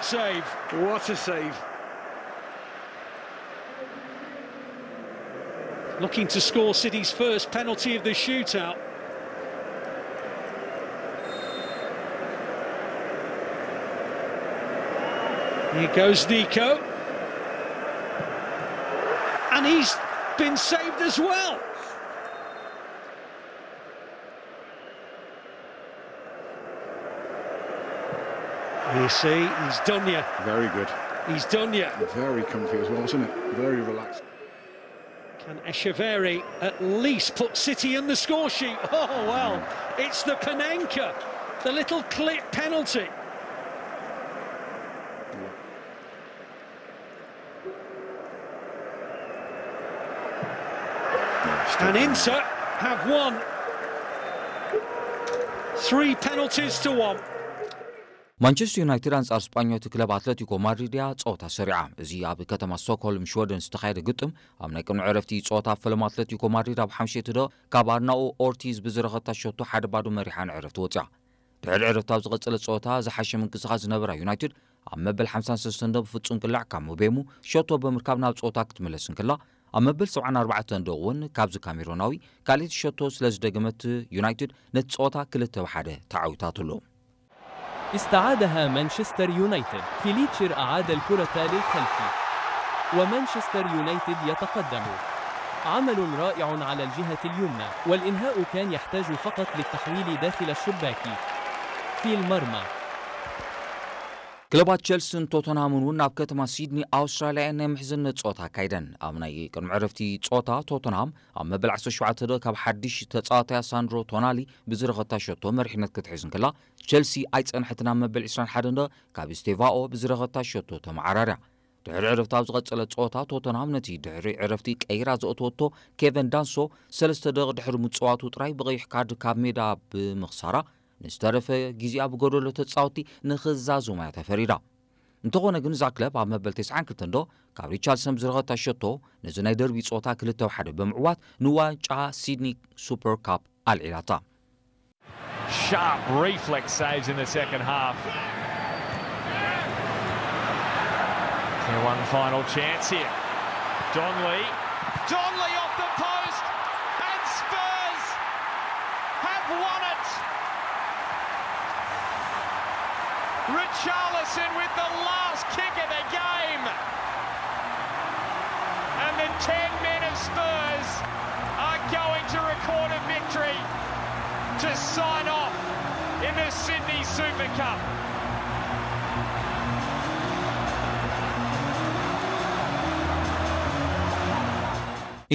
Save. What a save. Looking to score City's first penalty of the shootout. Here goes Nico. And he's been saved as well. You see, he's done you. Very good. He's done you. Very comfy as well, wasn't it? Very relaxed. Can Echeverri at least put City in the score sheet? Oh, well, it's the Panenka, the little clip penalty. And Inter have won. Three penalties to one. ማንቸስተር ዩናይትድ ኣንጻር ስጳኛዊት ክለብ ኣትለቲኮ ማድሪድ እያ ጸወታ ሰሪዓ። እዚ ኣብ ከተማ ስቶክሆልም ሽወደን ዝተኻየደ ግጥም ኣብ ናይ ቅድሚ ዕረፍቲ ጸወታ ኣብ ፈለማ ኣትለቲኮ ማድሪድ ኣብ ሓምሸይቲ ዶ ካብ ኣርናኦ ኦርቲዝ ብዝረኸታ ሸቶ ሓደ ባዶ መሪሓ ንዕረፍቲ ወጽያ። ድሕሪ ዕረፍቲ ኣብ ዝቐጸለ ጸወታ ዝሓሸ ምንቅስቓስ ዝነበራ ዩናይትድ ኣብ መበል ሓምሳን ሰለስተን ዶ ብፍጹም ቅላዕ ካብ ሙቤሙ ሸቶ ብምርካብ ናብ ጸወታ ክትምለስ እንክላ፣ ኣብ መበል ሰብዓን ኣርባዕተን ዶ እውን ካብዚ ካሜሮናዊ ካልኣይቲ ሸቶ ስለ ዝደገመት ዩናይትድ ነቲ ጸወታ ክልተ ብ ሓደ ተዓዊታትሉ። استعادها مانشستر يونايتد. فيليتشر أعاد الكرة للخلف ومانشستر يونايتد يتقدم. عمل رائع على الجهة اليمنى والإنهاء كان يحتاج فقط للتحويل داخل الشباك في المرمى. ክለባት ቸልስን ቶተንሃምን እውን ናብ ከተማ ሲድኒ ኣውስትራልያ ናይ ምሕዝነት ጸወታ ኣካይደን። ኣብ ናይ ቅድሚ ዕረፍቲ ጸወታ ቶተንሃም ኣብ መበል ዓሰርተ ሸውዓተ ዶ ካብ ሓድሽ ተጻዋታያ ሳንድሮ ቶናሊ ብዝረኸታ ሸቶ መሪሕነት ክትሕዝ እንከላ፣ ቸልሲ ኣይጸንሐትን ኣብ መበል ዕስራን ሓደን ዶ ካብ ስቴቫኦ ብዝረኸታ ሸቶ ተመዓራርያ። ድሕሪ ዕረፍቲ ኣብ ዝቐጸለ ጸወታ ቶተንሃም ነቲ ድሕሪ ዕረፍቲ ቀይራ ዘእተወቶ ኬቨን ዳንሶ ሰለስተ ደቂቕ ድሕሪ ምጽዋቱ ጥራይ ብቐይሕ ካርድ ካብ ሜዳ ብምኽሳራ ንዝተረፈ ግዜኣ ብጎደሎ ተጻወትቲ ንኽዛዝሙ እያ ተፈሪዳ። እንተኾነ ግን እዛ ክለብ ኣብ መበል ተስዓን ክልተን ዶ ካብ ሪቻርድሰን ብዝረኸታ ሸቶ ነዚ ናይ ደርቢ ጸወታ ክልተ ብ ሓደ ብምዕዋት ንዋንጫ ሲድኒ ሱፐር ካፕ ኣልዒላታ። Sharp reflex saves in the second half. One final chance here. Donley. Donley off the post. And Spurs have won it. Richarlison with the last kick of the game. And the ten men of Spurs are going to record a victory to sign off in the Sydney Super Cup.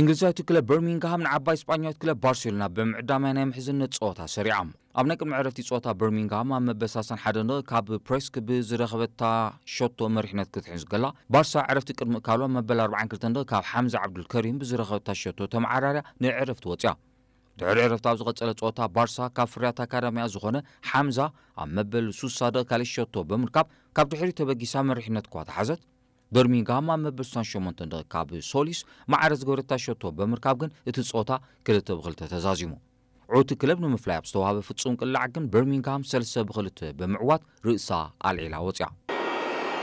እንግሊዛዊት ክለብ በርሚንግሃም ንዓባይ ስጳኛዊት ክለብ ባርሴሎና ብምዕዳም ናይ ምሕዝነት ጸወታ ሰሪዓ። ኣብ ናይ ቅድሚ ዕረፍቲ ጸወታ በርሚንግሃም ኣብ መበል ሰላሳን ሓደን ካብ ፕሬስክ ብዝረኸበታ ሸቶ መሪሕነት ክትሕዝ ከላ፣ ባርሳ ዕረፍቲ ቅድሚ እካሉ ኣብ መበል ኣርባዓን ክልተን ካብ ሓምዛ ዓብዱልከሪም ብዝረኸበታ ሸቶ ተመዓራርያ ንዕረፍቲ ወጽያ። ድሕሪ ዕረፍቲ ኣብ ዝቐጸለ ጸወታ ባርሳ ካብ ፍርያት ኣካዳሚኣ ዝኾነ ሓምዛ ኣብ መበል ሱሳ ዶ ካልእ ሸቶ ብምርካብ ካብ ድሕሪት ተበጊሳ መሪሕነት እኳ ተሓዘት። በርሚንግሃም ኣብ መበል ሱሳን ሸሞንተን ዶ ካብ ሶሊስ ማዕረ ዝገበረታ ሸቶ ብምርካብ ግን እቲ ጸወታ ክልተ ብ ክልተ ተዛዚሙ። ዕውቲ ክለብ ንምፍላይ ኣብ ዝተዋህበ ፍጹም ቅላዕ ግን በርሚንግሃም ሰለስተ ብ ክልተ ብምዕዋት ርእሳ ኣልዒላ ወጽያ።